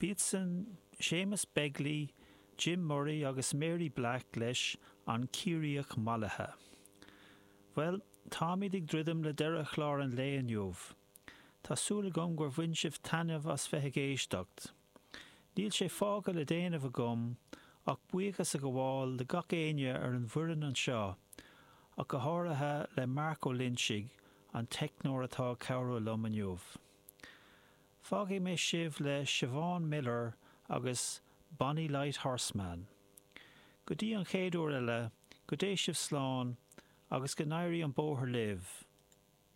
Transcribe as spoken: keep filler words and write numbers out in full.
B'iadsan Séamus Begley, Jim Murray agus Mary Black leis An Ciarraíoch Mallaithe. Bhuel, táimid ag druidim le deireadh chlár an lae inniu. Tá súil agam gur bhain sibh taitneamh as bheith ag éisteacht. Níl sé fágtha le déanamh agam ach buíochas a ghabháil le gach éinne ar an bhfoireann anseo, ach go háirithe le Mark Ó Loinsigh, an teicneoir atá ag cabhrú liom inniu. Fágfaidh mé sibh le Siobhan Miller agus Bonny Light Horseman. Go dtí an chéad uair eile, go dté sibh slán agus go n-éirí an bóthar libh.